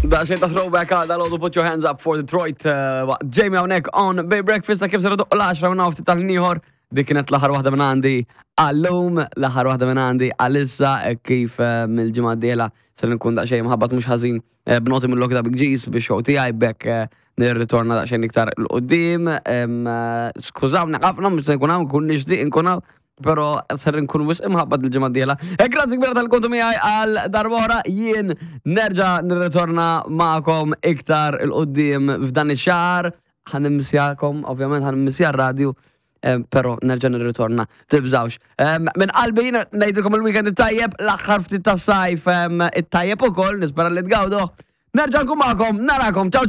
Daqsxejn ta' throwback għal dal Put Your Hands Up for Detroit eh, waqt Jamie hawnhekk on Bay Breakfast kif ser doq l-10 minn ftit tal-ieħor. Dik kienet l-aħħar waħda minn għandi għallum, l-aħħar waħda minn għandi għalissa eh, kif eh, mill-ġimgħa d-dieħla ser nkun daqsxejn mħabbat mhux ħażin b'noti mill ta' Big G's biex show tiegħi bekk nirritorna daqsxejn iktar l-qudiem. Skużawni ħafna mhux se nkun hawn, nkun nixtieq nkun hawn, pero ser nkun wisq imħabbat il-ġimgħa d-dieħla. E grazzi kbira tal-kontu miegħi għal darb'oħra jien nerġa' nirritorna magħkom iktar il-qudiem f'dan ix-xahar. Ħa nimmissjakom, ovvjament ħa nimmissja r-radju, eh, pero nerġa' nirritorna. Tibżawx. Minn qalbi ngħidilkom il-weekend it-tajjeb, l-aħħar ftit tas-sajf it-tajjeb ukoll, nispera li tgawduh. Nerġa' nkun magħkom, narakom. Ciao.